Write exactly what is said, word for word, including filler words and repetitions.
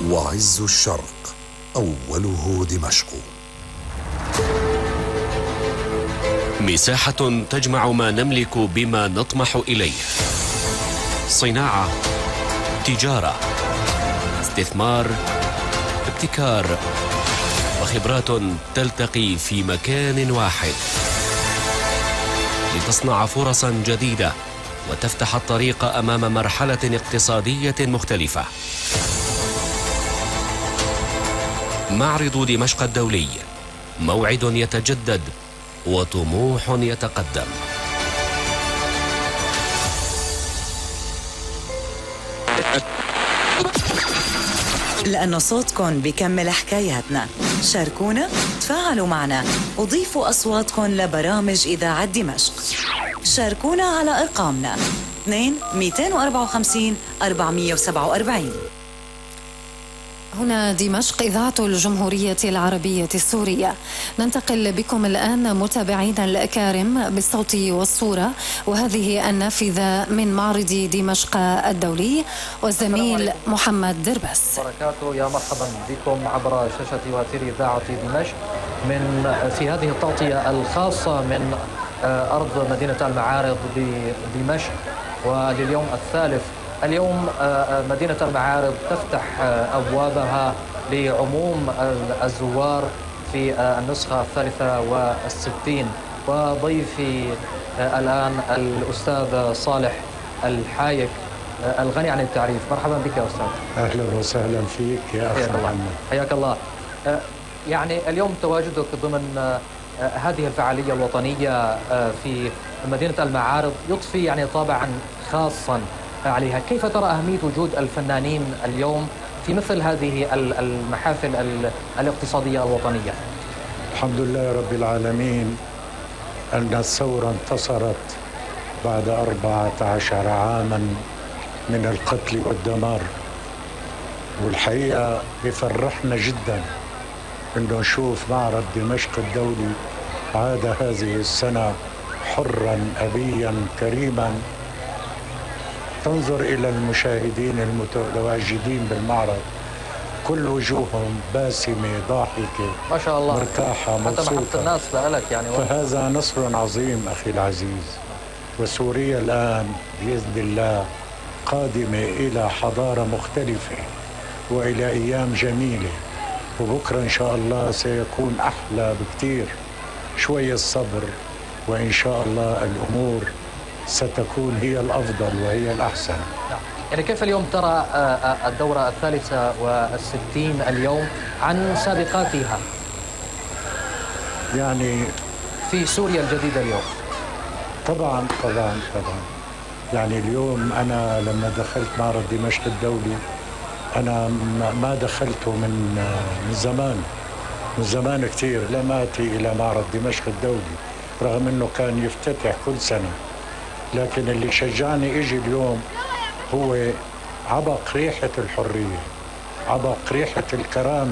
وعز الشرق أوله دمشق. مساحة تجمع ما نملك بما نطمح إليه: صناعة، تجارة، استثمار، ابتكار، وخبرات تلتقي في مكان واحد لتصنع فرصا جديدة وتفتح الطريق أمام مرحلة اقتصادية مختلفة. معرض دمشق الدولي، موعد يتجدد وطموح يتقدم. لأنه صوتكن بيكمل حكاياتنا. شاركونا، تفاعلوا معنا، وضيفوا أصواتكن لبرامج إذاعة دمشق. شاركونا على أرقامنا اثنين مئتين وأربعة وخمسين أربعمئة وسبعة وأربعين. هنا دمشق، إذاعة الجمهورية العربية السورية. ننتقل بكم الآن متابعينا الأكارم بالصوت والصورة، وهذه النافذة من معرض دمشق الدولي، والزميل محمد دربس. بركاته، يا مرحبا بكم عبر شاشة وتير إذاعة دمشق من في هذه التغطية الخاصة من أرض مدينة المعارض بدمشق. ولليوم الثالث اليوم مدينة المعارض تفتح أبوابها لعموم الزوار في النسخة الثالثة والستين. وضيفي الآن الأستاذ صالح الحايك الغني عن التعريف. مرحبا بك يا أستاذ. أهلا وسهلا فيك يا أخي محمد. حياك الله. يعني اليوم تواجدك ضمن هذه الفعالية الوطنية في مدينة المعارض يضفي يعني طابعا خاصا عليها. كيف ترى أهمية وجود الفنانين اليوم في مثل هذه المحافل الاقتصادية الوطنية؟ الحمد لله رب العالمين أن الثورة انتصرت بعد أربعة عشر عاما من القتل والدمار، والحقيقة بفرحنا جدا أنه نشوف معرض دمشق الدولي عاد هذه السنة حرا أبيا كريما. تنظر إلى المشاهدين المتواجدين بالمعرض، كل وجوههم باسمة ضاحكة ما شاء الله، مرتاحة مبسوطة. حتى محبة الناس لك يعني. فهذا نصر عظيم أخي العزيز. وسوريا الآن بإذن الله قادمة إلى حضارة مختلفة وإلى أيام جميلة، وبكرة إن شاء الله سيكون أحلى بكتير. شوية الصبر وإن شاء الله الأمور ستكون هي الأفضل وهي الأحسن. يعني كيف اليوم ترى الدورة الثالثة والستين اليوم عن سابقاتها يعني في سوريا الجديدة اليوم؟ طبعا طبعا طبعا يعني اليوم أنا لما دخلت معرض دمشق الدولي أنا ما دخلته من من زمان من زمان كتير. لم آتي إلى معرض دمشق الدولي رغم أنه كان يفتتح كل سنة، لكن اللي شجعني إجي اليوم هو عبق ريحة الحرية، عبق ريحة الكرامة.